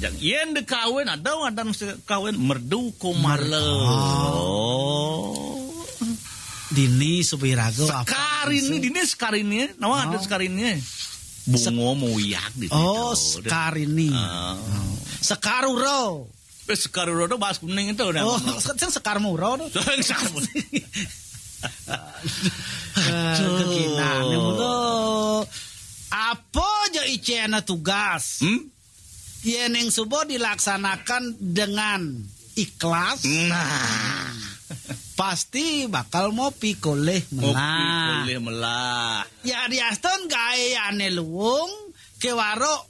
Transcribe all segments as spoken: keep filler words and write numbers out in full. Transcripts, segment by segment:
Jang, yen dikawin, ada ngadan se-, kawin merdu komala. Merdu. Oh. Dini subiraga apa? Sekarini, dini sekarini, nawa ada sekarini. Bungo moyak di situ. Oh, sekarini. Ah. Oh. Sekarura. Eh, sekarura tu bahas kuning itu dah. Oh, sing sekar mura tu. Sing sekar mura. Eh, keginane mula. Apa aja icena tugas? Hmm? Yen ing suba dilaksanakan dengan ikhlas, nah, pasti bakal mopi kolih melah. Mopi kolih melah. Ya, diastun gaeane luung, kewaro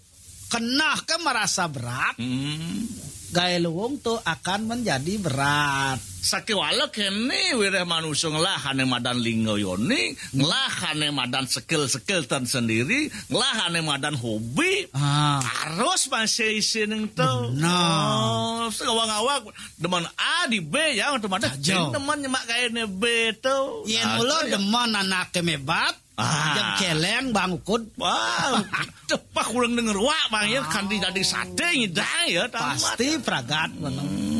keneh ke merasa berat. Hmm. Gae luung tu akan menjadi berat. Sakewala kene wireh manusa ngelahane madan lingga yoni, ngelahane madan sekel-sekel tersendiri, ngelahane madan hobi. Ah. Harus masih isin tu. Benar. Oh, sing awang-awang demen A di B ya, untuk madan. Saja. Demen nyemak gaene B tu. Yen mula demen anake mebat, ah, jam celeng, Bang Ukud. Wah, aduh, pas kurang denger wak, Bang, ya, ah, kanti dadi sate ngidang, ya, tamat. Pasti pragat, Bang. Hmm.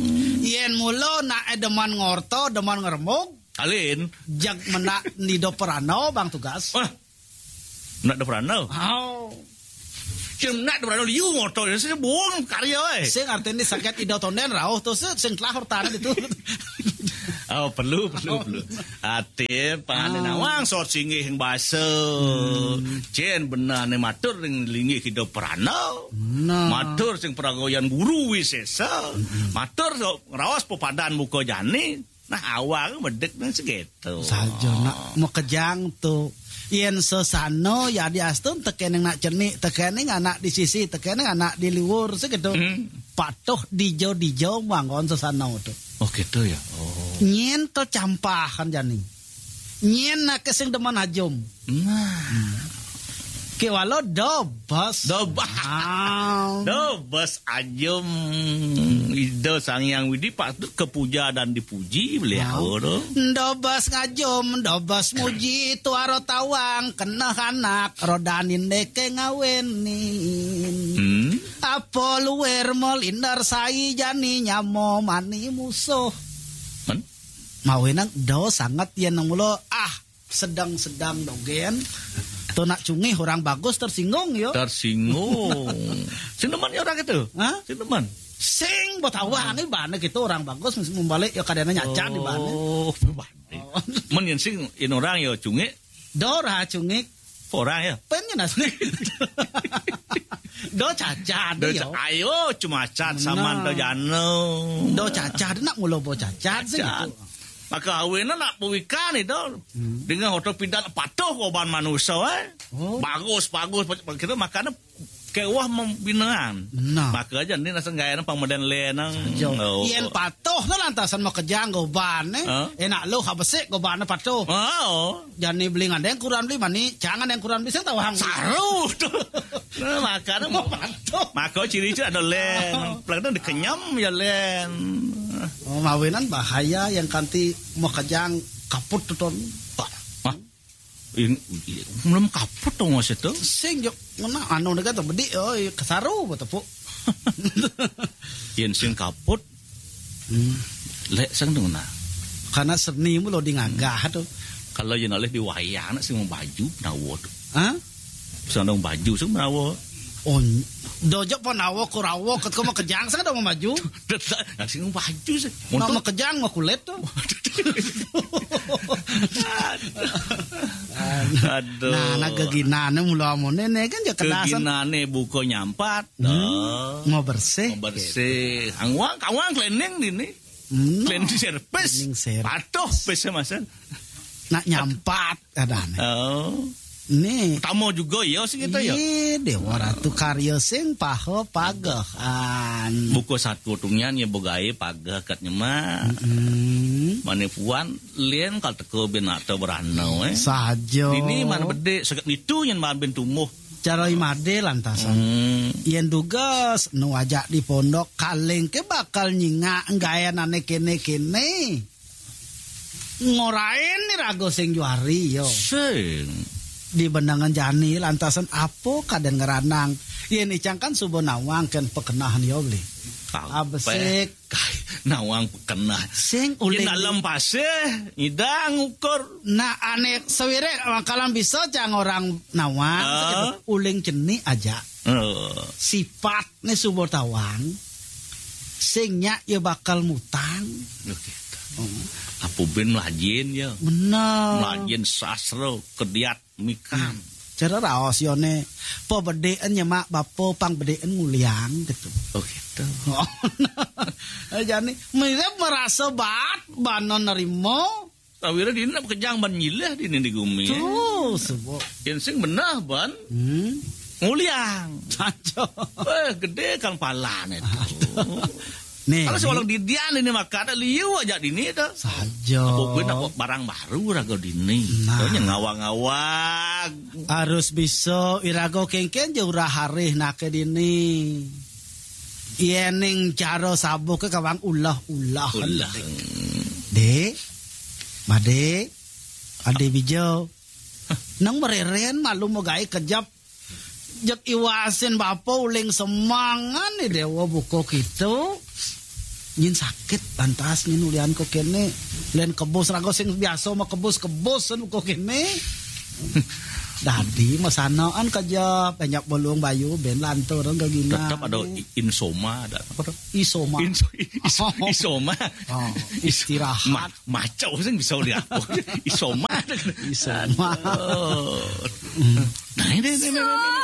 Yen mula nak demen ngorta, demen ngeremug. Alin. Jag menak nido perana, Bang Tugas. Wah, nak do perana. Oh. Sing nak do perana liu ngorta, sing buang karya, eh. Sing artine saget ido tonden rauh tu, sing telah hortane gitu. Oh, perlu, perlu, oh, perlu. Ati pangane, ah, nawang sot singgih ing basa. Hmm. Jen benane matur ring linggih Ida Prana. Nah. Matur sing pragayan guru wisesa. Hmm. Matur sok ngraos pepadan muka jani. Nah, awal medek nang segitu. Saja nak makejang tu. Yen sesana ya diastun tekening nak cenik, tekening anak di sisi, tekening anak di liwur segitu. Hmm. Patuh dijo-dijo manggon sesana tu. Oh, gitu ya. Oh. Nyen kecampahan jani. Nyen nake sing demen ajum. Nah. Kewala dobes. Dobes. Ah. Dobes ajum. Ida Sang Hyang Widi patut kepuja dan dipuji beliau tu. Dobes ngajum, dobes muji, tuara tawang, kena anak, rodanin deke ngawenin. Hmm. Apa luwer melinder sai jani nyamo mani musuh. Men? Mawenang do sangat yen nang mula, ah, sedang-sedang dogen. Tu nak cungih orang bagus tersinggung, yo. Tersinggung. Sing demen ya orang itu? Hah? Sing demen. Sing betawang ni bane gitu orang bagus mesti membalik ya kadang nyacan di bane. Oh, bane. Oh. Men yen sing yen orang ya cungih. Dora cungih. Orang ya. Pen yen asli. Do cacat. Do yo. Ca-, ayo cuma cat saman do jano. Do cacat nak mula bo cacat sih gitu. Maka awena nak pewikan itu. Hmm. Dengan oto pidan patuh goban manusia, eh. Oh. Bagus, bagus, bagus. Kita makanya kewah membinaan. Nah. Maka aja ni nasa gaya nang pang meden lenang. Saja. Oh. Yen patuh tu lantasan makejang goban, eh. Hah? Enak lu habesik goban patuh. Oh. Jani beli ngandeng kuran beli mani, jangan yang kuran beli sing tawang. Saru tu. Nah, makanya mau patuh. Maka ciri-ciri ada len. Pelan dikenyam ya len. Oh, mawinan bahaya yang kanti makejang kaput tu ton. Hah? Ini, belum kaput dong mas itu. Sing jok ngena anu deka tu bedik, oh, kesaru betepuk. Yen sing kaput, hmm, lek sing tu ngena. Karena seni mu lo di ngagah tu. Kalau yen oleh di wayang nak sing baju penawa tu. Hah? Sing dong baju sing penawa. Oh, dojok penawa kurawa ket kau makejang sing dong baju. Nak sing baju sih. Nak makejang mah kulit tu. Aduh. Nah, nah geginane mula amone ne kan ya kedasan. Geginane buka nyampat. Hmm. Dah. Mau bersih. Mau bersih. Angwang, kawang cleaning dini. Hmm. Cleaning service. Cleaning service. Patuh pese masan. Nak nyampat kadane. Oh. Ni. Pertama juga ya sih kita ya. Iya, Dewa Ratu karya sing paha pagehan. Buku satu tungian ya begawe pageh kat nyemak. Mm-mm. Mane puan lien kal teka bin ata berana, eh. Saja. Ini mana bedik seket nitu nyen mabin tumuh. Cara imade lantasan. Hmm. Yen dugas nu ajak di pondok kaling ke bakal nyingak gayanane kene-kene. Ngorain ni raga sing juari, yo. Sing. Di benengan jani lantasan apa kadén ngranang. Yén icang kan suba nawang kén pakenahan ya beli. Abesik. Kai, nawang pakenah. Sing uling. Di dalam pasih, ngidang ukur. Nah, ané sawiréh makalan bisa cang orang nawang, ah, sakitu, uling cenik aja. Oh. Sipat né suba tawang, sing nyak ya bakal mutang. Loh, gitu. Oh. Apa bin melajin ya? Bener. Melajin sastra, kediat mikan. Hmm. Cara raos yoné, pabedéen nyemak bapa pang bedéen nguliang gitu. Oh, gitu. Oh. Jani mirip merasa bat bana nerima. Sawira dini nak kejang ban nyilih dini di gumi. Tuh, sebut. Yén sing benah ban. Hmm. Nguliang. Saja. Wéh, gedé kan palané tuh. Nih, kalau nih. Seorang didian ini makan liu aja dini tuh. Saja. Apa kuwi nak barang baru raga dini. Nah. Kayaknya ngawang-ngawang. Harus bisa iraga kéngkén ja urah harih naké dini. Yéning cara sabuh ké kawang ulah-ulah. Ulah. Dék, Madé, Adé Bijau. Nang mereren malu magaé kejap. Jeg iwasin bapa uling semangan ni déwa buka kitu. Nyin sakit lantas nyin ulian ko kéné. Lén kebus raga sing biasa mah kebus-kebus buka kéné. Dadi masanaan kejap, banyak bolong bayu ben lantur gegina. Tetep ada i-, insoma, ada apa tuh? Isoma. Inso-, is-, isoma. Oh, istirahat. Ma-, maco sing bisa ulian. Isoma. Isoma. Aduh. Hmm. Nah, ini, ini, ini, ini.